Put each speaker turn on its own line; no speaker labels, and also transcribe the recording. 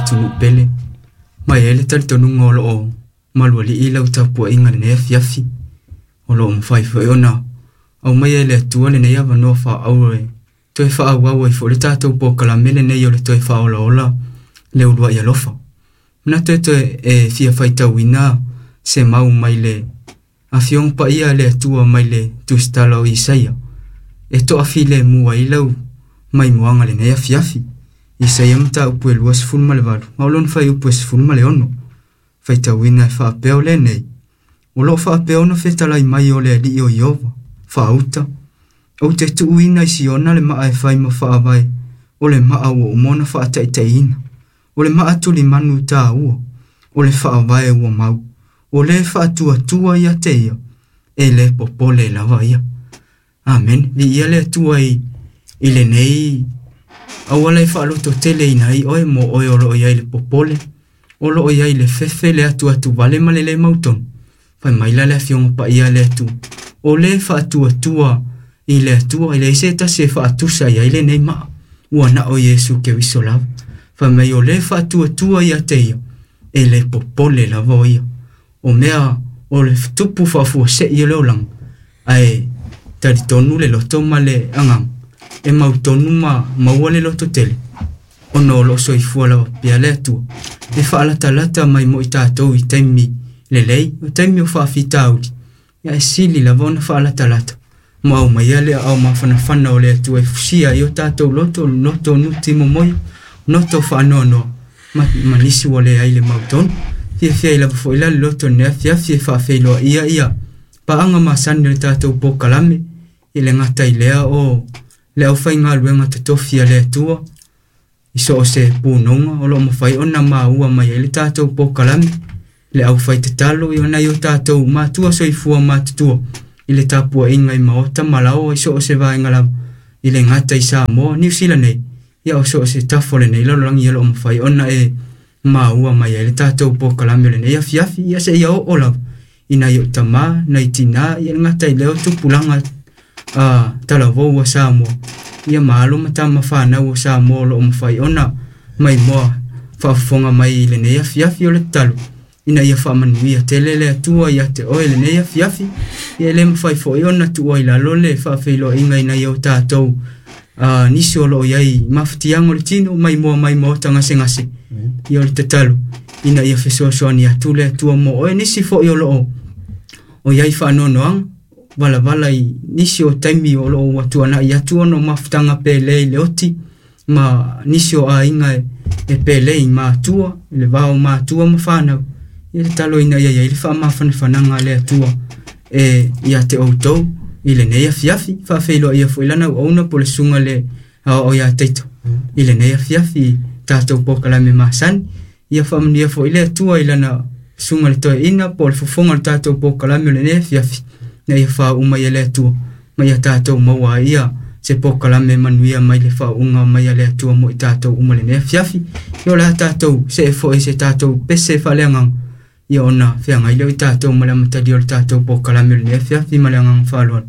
atunuu pele, ma e i ai le talitonuga o loo malualii lau tapuaiga i lenei afiafi. O loo mafai foi ona aumaia e le Atua lenei avanoa faaauuro e toe faaauau ai foi le tatou polokalame lenei o le toe faaolaola le uluai alofa. Manatu e toe e fia faitauina se mau mai le Afioga Paia a le Atua mai le Tusitala o Isaia e toafilemu ai lau maimoaga i lenei afiafi. Isaia mataupu e 28, ma o lona fuaiupu e 16. Faitauina e faapea o lenei, o loo faapea ona fetalai mai o le Alii o Ieova, faauta, ou te tuuina i Siona le maa e fai ma faavae, o le maa ua uma ona faataitaiina, o le maa tulimanu taua, o le faavae ua mau, o le faatuatua ia te ia, e le popole lava ia. Amene. Viia le Atua i lenei auala e faalototeleina ai oe mo oe o loo i ai le popole, o loo i ai le fefe, le atuatu vale ma le le mautonu. Fai mai la le Afioga Paia a le Atua, o le faatuatua i le Atua, e leai se tasi e faatusa i ai lenei maa, ua na o Iesu Keriso lava. Fai mai o le faatuatua ia te ia, e le popole lava o ia. O mea o le tupu faafuasei o le olaga, ae talitonu le loto ma le agaga e mautonu ma maua le loto tele, ona o loo soifua lava pea le Atua e faalatalata mai mo i tatou i taimi lelei, o taimi o faafitauli, ia e sili lava ona faalatalata ma aumaia le aao mafanafana o le Atua e fusia ai o tatou loto, loto nuti momoia, loto faanoanoa ma nisi ua leai le mautonu. Fiafia ai lava foi la le loto i lenei afiafi e faafeiloaia ia paaga masani o le tatou polokalame, i le gata i lea o le aufaigaluega totofi a le Atua i so o se punoga o loo mafai ona maua mai ai le tatou polokalame, le aufaitatalo i nai o tatou matua soifua matutua i le tapuaiga i maota ma laoa i so o se vaega lava, i le gata i Samoa, Niu Sila nei, ia o so o se tafa o lenei lalolagi o loo mafai ona e maua mai ai le tatou polokalame o lenei afiafi, ia seia oo lava i nai ou tamā, nai tinā, ia le gata i lea o tupulaga talavou o Samoa, ia ma alo ma tama fanau o Samoa o loo mafai ona maimoa faafofoga mai i lenei afiafi. O le tatalo ina ia faamanuia tele le Atua ia te oe lenei afiafi, ia e le mafai foi ona tuua i lalo le faafeiloaiga i nai o tatou nisi o loo i ai mafatiaga o le tino maimoa mai maota gasegase. Ia o le tatalo ina ia fesoasoani atu le Atua mo oe, nisi foi o loo o i ai faanoanoaga valavala i nisi o taimi o loo ua tuanai atu ona o mafutaga pele i le oti ma nisi o aiga e pele i matua, i le va o matua ma fanau. Ia tatalo ina ia i ai le faamafanafanaga a le Atua e ia te outou i lenei afiafi. Faafeiloaia foi lana auauna po o le susuga le aoao ia Taito i lenei afiafi tatou polokalame masani. Ia faamanuia foi le Atua i lana susuga le toeaina po o le fofoga o le tatou polokalame o lenei afiafi, ina ia faauma mai e le Atua ma ia tatou maua ai ia se polokalame manuia mai le faauuga mai a le Atua mo i tatou uma lenei afiafi. Ia o le a tatou see foi se tatou pese faaleagaga, ia ona feagai lea o i tatou ma le amatalia o le tatou polokalame o lenei afiafi ma le agaga faaaloalo.